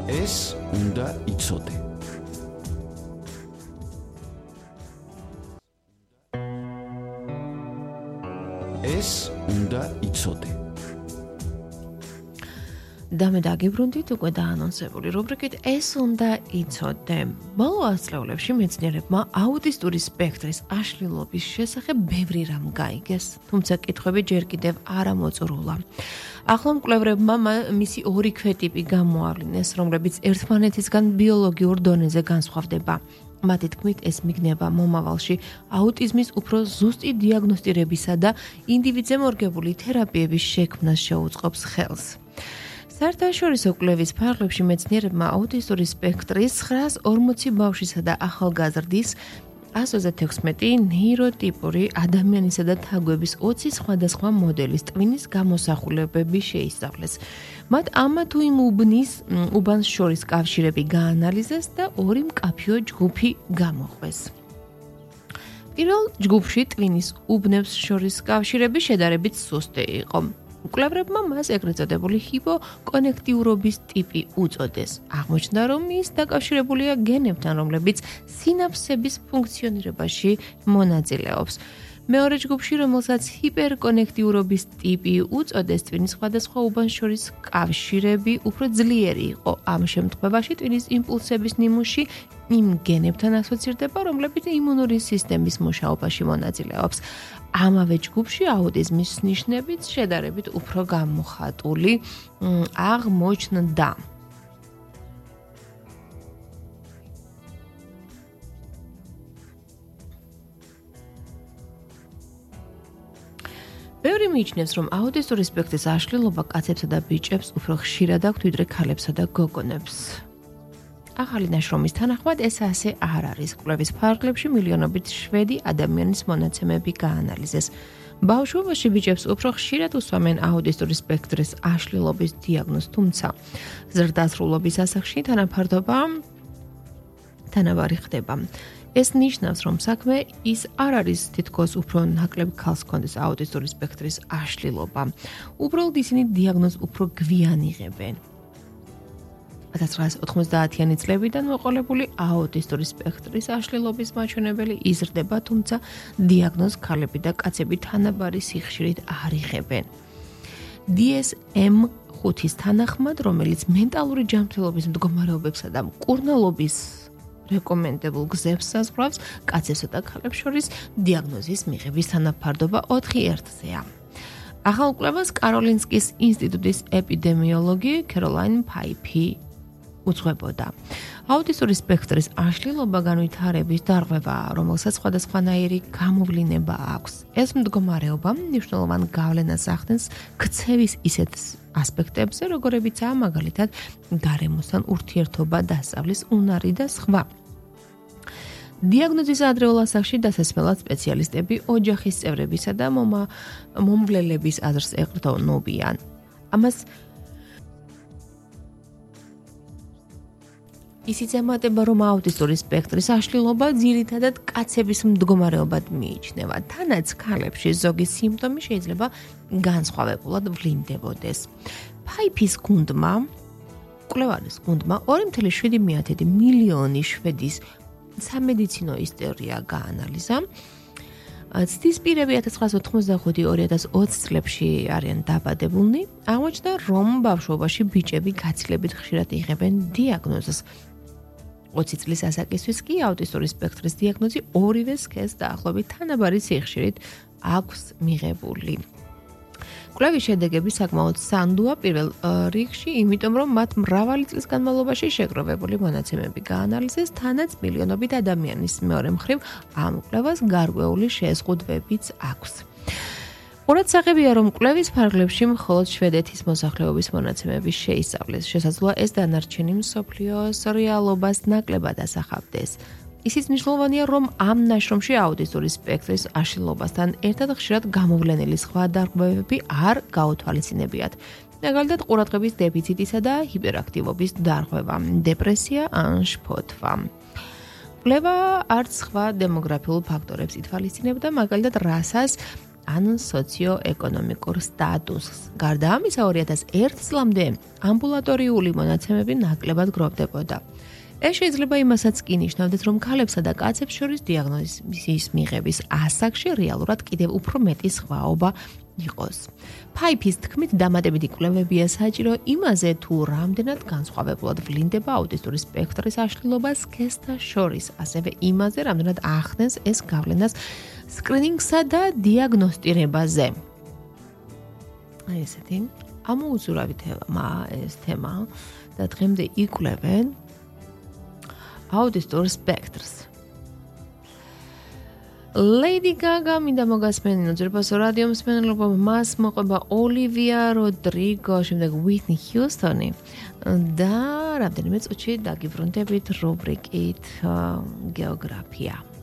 ეს უნდა იცოდე. ეს უნდა იცოდე. დამე დაგიბრუნდით უკვე დაანონსებული რუბრიკით ეს უნდა იცოდე. ბოლო ასწლეულებში მეცნიერებმა აუტისტური სპექტრის აშლილობის შესახებ ბევრი რამ გაიგეს, თუმცა კითხვები ჯერ კიდევ არ ამოწურულა. ახლა მკვლევრებმა მისი ორი ქვეტიპი გამოავლინეს, რომლებიც ერთმანეთისგან ბიოლოგიურ დონეზე განსხვავდება. მათი თქმით, ეს მიგნება მომავალში აუტიზმის უფრო ზუსტი დიაგნოსტირებისა და ინდივიდზე მორგებული თერაპიების შექმნას შეუწყობს ხელს. საერთაშორისო კვლევის ფარგლებში მეცნიერებმა აუტისტური სპექტრის 940 ბავშვისა და ახალგაზრდის 136 ნეიროტიპური ადამიანისა და თაგვების 20 სხვადასხვა მოდელის ტვინის გამოსახულებები შეისწავლეს. მათ ამა თუ იმ უბანს შორის კავშირები გაანალიზეს და ორი მკაფიო ჯგუფი გამოყვეს. პირველ ჯგუფში ტვინის უბნებს შორის კავშირები შედარებით სუსტი იყო. მკვლევრებმა მას ეგრეთ წოდებული ჰიპოკონექტიურობის ტიპი უწოდეს. აღმოჩნდა, რომ ის დაკავშირებულია გენებთან, რომლებიც სინაფსების ფუნქციონირებაში მონაწილეობს. მეორე ჯგუფში, რომელსაც ჰიპერკონექტიურობის ტიპი უწოდეს, ტვინის სხვადასხვა უბანს შორის კავშირები უფრო ძლიერი იყო. ამ შემთხვევაში ტვინის იმპულსების ნიმუში იმ გენებთან ასოცირდება, რომლებიც იმუნური სისტემის მუშაობაში მონაწილეობს. ამავე ჯგუფში აუტიზმის ნიშნებიც შედარებით უფრო გამოხატული აღმოჩნდა. ბევრი მიიჩნევს, რომ აუტისტური სპექტრის აშლილობა კაცებსა და ბიჭებს უფრო ხშირად აქვთ, ვიდრე ქალებსა და გოგონებს. ახალი ნაშრომის თანახმად ეს ასე არ არის. კვლევის ფარგლებში მილიონობით შვედი ადამიანის მონაცემები გაანალიზეს. ბავშვობაში ბიჭებს უფრო ხშირად უსვამენ აუტისტური სპექტრის აშლილობის დიაგნოზს, თუმცა ზრდასრულობის ასაკში თანაბარი ხდება. ეს ნიშნავს, რომ საქმე ის არ არის თითქოს უფრო ნაკლებ ქალს ჰქონდეს აუტისტური სპექტრის აშლილობა. უბრალოდ ისინი დიაგნოზს უფრო გვიან იღებენ. 1990-იანი წლებიდან მოყოლებული აუტისტური სპექტრის აშლილობის მაჩვენებელი იზრდება, თუმცა დიაგნოზს ქალები და კაცები თანაბარი სიხშირით არ იღებენ. DSM-5-ის თანახმად, რომელიც მენტალური ჯანმრთელობის მდგომარეობებსა და მკურნალობის რეკომენდებულ გზებს საზღვრავს, კაცებსა და ქალებს შორის დიაგნოზის მიღების თანაფარდობა 4:1-ზეა. ახალ კვლევას კაროლინსკის ინსტიტუტის ეპიდემიოლოგი კეროლაინ ფაიფი უძღვებოდა. აუტისტური სპექტრის აშლილობა განვითარების დარღვევაა, რომელსაც სხვადასხვანაირი გამოვლინება აქვს. ეს მდგომარეობა მნიშვნელოვან გავლენას ახდენს ქცევის ისეთ ასპექტებზე, როგორებიცაა მაგალითად გარემოსთან ურთიერთობა, დასწავლის უნარი და სხვა. დიაგნოზის ადრეულ ასაკში დასასმელად სპეციალისტები ოჯახის წევრებისა და მომვლელების აზრს ეყრდნობიან. ამას ისიც ემატება, რომ აუტისტური სპექტრის აშლილობა ძირითადად კაცების მდგომარეობად მიიჩნევა. თანაც ქალებში ზოგი სიმპტომი შეიძლება განსხვავებულად ვლინდებოდეს. ფაიფის გუნდმა, კვლევარის გუნდმა 2.7 მილიონი შვედის სამედიცინო ისტორია გაანალიზა. ცდის პირები 1985-2020 წლებში არიან დაბადებულნი. აღმოჩნდა, რომ ბავშვობაში ბიჭები გაცილებით ხშირად იღებენ დიაგნოზს. 20 წლის ასაკისთვის კი აუტისტური სპექტრის დიაგნოზი ორივე სქესს დაახლოებით თანაბარი სიხშირით აქვს მიღებული. კვლევის შედეგები საკმაოდ სანდოა პირველ რიგში, იმიტომ რომ მათ მრავალი წლის განმავლობაში შეგროვებული მონაცემები გაანალიზეს, თანაც მილიონობით ადამიანის. მეორე მხრივ, ამ კვლევას გარკვეული შეზღუდვებიც აქვს. ყურადსაღებია, რომ კვლევის ფარგლებში მხოლოდ შვედეთის მოსახლეობის მონაცემები შეისწავლეს. შესაძლოა ეს დანარჩენი მსოფლიოს რეალობას ნაკლებად ასახავდეს. ისიც მნიშვნელოვანია, რომ ამ ნაშრომში აუტისტური სპექტრის აშლილობასთან ერთად ხშირად გამოვლენილი სხვა დარღვევები არ გაუთვალისწინებიათ. მაგალითად, ყურადღების დეფიციტისა და ჰიპერაქტივობის დარღვევა, დეპრესია ან შფოთვა. კვლევა არც სხვა დემოგრაფიულ ფაქტორებს ითვალისწინებდა, მაგალითად, რასას ან სოციო-ეკონომიკურ სტატუსს. გარდა ამისა 2001 წლამდე ამბულატორიული მონაცემები ნაკლებად გროვდებოდა. ეს შეიძლება იმასაც კი ნიშნავდეს, რომ ქალებსა და კაცებს შორის დიაგნოზის მიღების ასაკში რეალურად კიდევ უფრო მეტი სხვაობა იყოს. Pipes თქმით, დამატებითი კვლევებია საჭირო იმაზე, თუ რამდენად განსხვავებულად ვლინდება აუტისტური სპექტრის აშლილობა სქესთა შორის, ასევე იმაზე, რამდენად ახდენს ეს გავლენას სკრინინგსა და დიაგნოსტირებაზე. ესეთი ამოუზურავი ეს თემა და დღემდე იკვლევენ აუტისტურ სპექტრს. Lady Gaga მინდა მოგასმენინო ძვირფასო რადიო მსმენელობა, მას მოყვება ოლივია როდრიგო, შემდეგ Whitney Houston-ი და რამდენიმე წუთში დაგიბრუნდებით რუბრიკით გეოგრაფია.